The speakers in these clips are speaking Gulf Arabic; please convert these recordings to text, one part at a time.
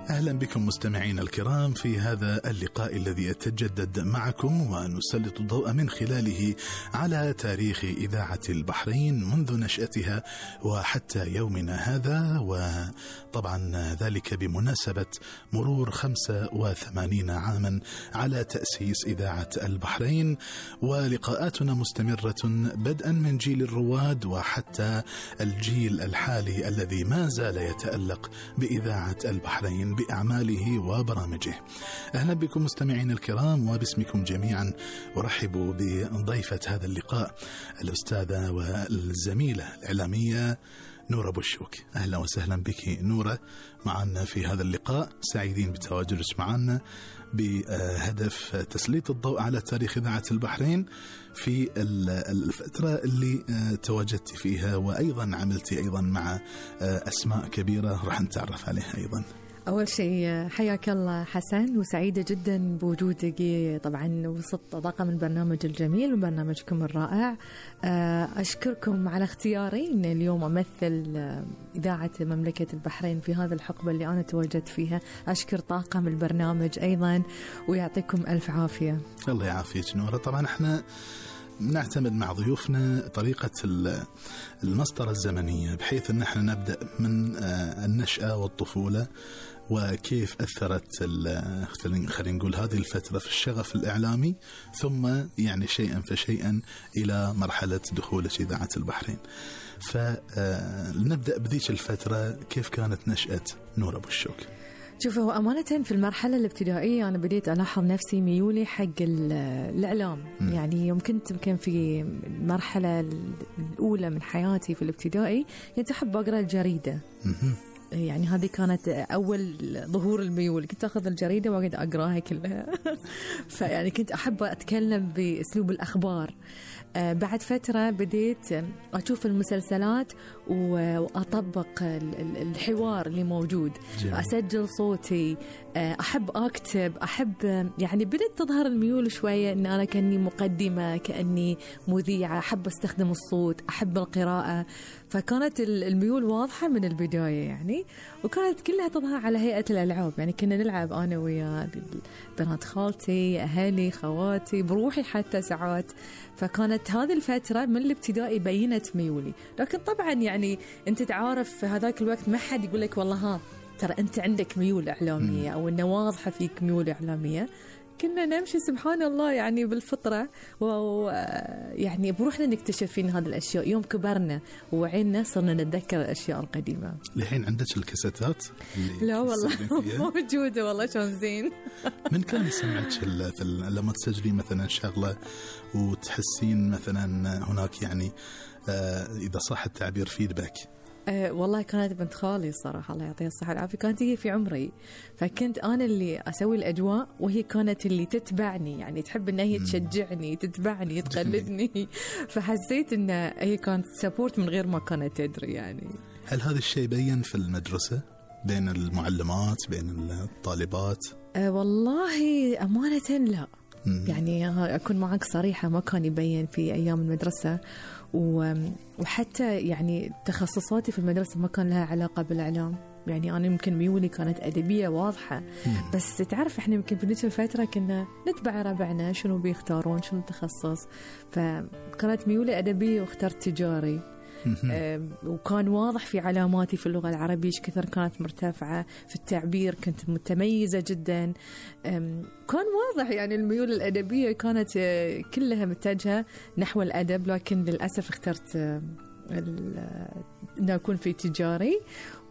أهلا بكم مستمعين الكرام في هذا اللقاء الذي يتجدد معكم ونسلط الضوء من خلاله على تاريخ إذاعة البحرين منذ نشأتها وحتى يومنا هذا، وطبعا ذلك بمناسبة مرور 85 عاما على تأسيس إذاعة البحرين. ولقاءاتنا مستمرة بدءا من جيل الرواد وحتى الجيل الحالي الذي ما زال يتألق بإذاعة البحرين بأعماله وبرامجه. أهلا بكم مستمعين الكرام، وباسمكم جميعا أرحب بضيفة هذا اللقاء الأستاذة والزميلة الإعلامية نورة بوشوك. أهلا وسهلا بك نورة معنا في هذا اللقاء، سعيدين بتواجدك معنا بهدف تسليط الضوء على تاريخ إذاعة البحرين في الفترة اللي تواجدت فيها، وأيضا عملتي أيضا مع أسماء كبيرة راح نتعرف عليها أيضا. أول شيء حياك الله حسن، وسعيدة جدا بوجودك طبعا وسط طاقم البرنامج الجميل وبرنامجكم الرائع. أشكركم على اختياري إن اليوم أمثل إذاعة مملكة البحرين في هذا الحقبة اللي أنا تواجدت فيها. أشكر طاقم البرنامج أيضا ويعطيكم ألف عافية. الله يعافيك نورة. طبعا احنا نعتمد مع ضيوفنا طريقة المسطرة الزمنية، بحيث أن احنا نبدأ من النشأة والطفولة وكيف أثرت خلينا نقول هذه الفترة في الشغف الإعلامي، ثم يعني شيئا فشيئا إلى مرحلة دخول إذاعة البحرين. فنبدأ بذيك الفترة، كيف كانت نشأة نورة بوشوك؟ شوف، هو أمانة في المرحلة الابتدائية أنا بديت ألاحظ نفسي ميولي حق الإعلام. يعني يوم كنت في المرحلة الأولى من حياتي في الابتدائي كنت أحب أقرأ الجريدة. يعني هذه كانت أول ظهور الميول، كنت أخذ الجريدة وأقعد أقرأها كلها. فيعني كنت أحب أتكلم بأسلوب الأخبار. بعد فترة بديت أشوف المسلسلات وأطبق الحوار اللي موجود، أسجل صوتي، أحب أكتب، أحب يعني بدأت تظهر الميول شوية إن أنا كأني مقدمة، كأني مذيعة، أحب أستخدم الصوت، أحب القراءة. فكانت الميول واضحة من البداية يعني، وكانت كلها تظهر على هيئة الألعاب. يعني كنا نلعب أنا ويا بنات خالتي، أهلي، خواتي، بروحي حتى ساعات. فكانت هذه الفترة من الابتدائي بينت ميولي. لكن طبعا يعني أنت تعرف في هذاك الوقت ما حد يقول لك والله ها ترى أنت عندك ميول إعلامية أو إنه واضحة فيك ميول إعلامية. كنا نمشي سبحان الله يعني بالفطرة، ويعني بروحنا نكتشف فين هذه الأشياء. يوم كبرنا ووعينا صرنا نتذكر الأشياء القديمة. لحين عندك الكاسيتات؟ لا والله موجودة والله، شلون زين. من كان يسمعك لما تسجلي مثلا شغلة وتحسين مثلا هناك يعني إذا صح التعبير فيدباك؟ والله كانت بنت خالي الصراحة الله يعطيها الصحة والعافية، كانت هي في عمري، فكنت أنا اللي أسوي الأجواء وهي كانت اللي تتبعني، يعني تحب إن هي تشجعني، تتبعني، تقلدني. فحسيت إن هي كانت سبورت من غير ما كانت تدري يعني. هل هذا الشيء بين في المدرسة بين المعلمات بين الطالبات؟ والله أمانة لا. يعني أكون معك صريحة ما كان يبين في أيام المدرسة، وحتى يعني تخصصاتي في المدرسة ما كان لها علاقة بالإعلام. يعني أنا يمكن ميولي كانت أدبية واضحة، بس تعرف إحنا يمكن في نفس الفترة كنا نتبع ربعنا شنو بيختارون شنو التخصص، فكانت ميولي أدبية واخترت تجاري. وكان واضح في علاماتي في اللغة العربية إيش كثر كانت مرتفعة، في التعبير كنت متميزة جدا. كان واضح يعني الميول الأدبية كانت كلها متجهة نحو الأدب، لكن للأسف اخترت أن أكون في تجاري،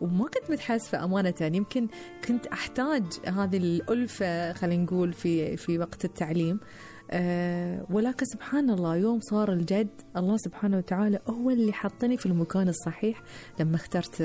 وما كنت متحاسفة أمانة. يمكن كنت أحتاج هذه الألفة خلينا نقول في وقت التعليم، ولكن سبحان الله يوم صار الجد الله سبحانه وتعالى هو اللي حطني في المكان الصحيح لما اخترت